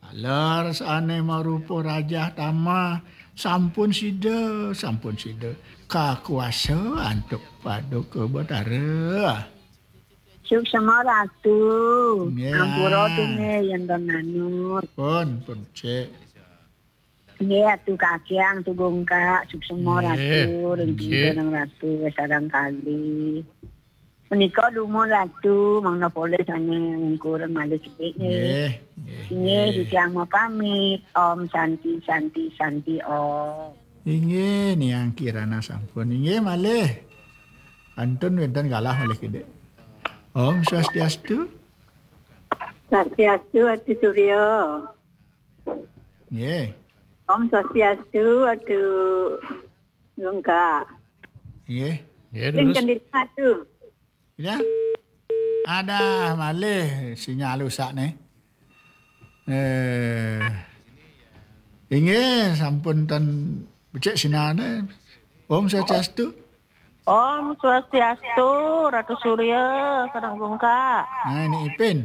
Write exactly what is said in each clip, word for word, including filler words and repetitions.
Alar sane marupa rajah tama, sampun sida, sampun sida. Kakuasa antuk paduka Batara. Suksma Ratu. Nggih. Ampura tu nggih yen ten manut. Pun, pun, cek. Nggih, Atu Kakyang, Atu Gungkak, suksma Ratu, ring Ratu, sareng kali. Menika dumun Ratu, mangda polih sane ngungkurang malih sithik nggih. Nggih, nggih, nggih. Titiang mapamit. Om Santi, Santi, Santi Om. Inggih, Niang Kirana sampun. Inggih, malih. Kantun wenten galah malih kidik. Om Swastiastu. Swastiastu, Atu Surya. Nggih. Om Swastiastu, Atu Gungkak. Nggih. Nggih, terus. Atu. Ya. Ada malih sinyal rusak nih. Eh, inggih, sampun ten becik sinane. Om Swastiastu. Om Swastiastu, Ratu Surya, sareng Gungkak. Nah, ini Ipin.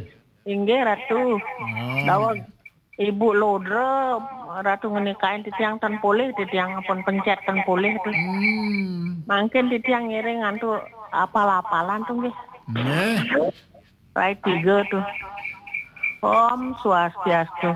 Inggih, Ratu. Oh. Daweg Ibu Lodra, Ratu ngenikain titiang ten polih, titiang pun pencet ten polih tuh. Hmm. Mangkin titiang ngiring antuk apal-apalan tuh nggih. Nggih. Rai tiga tuh. Om Swastiastu.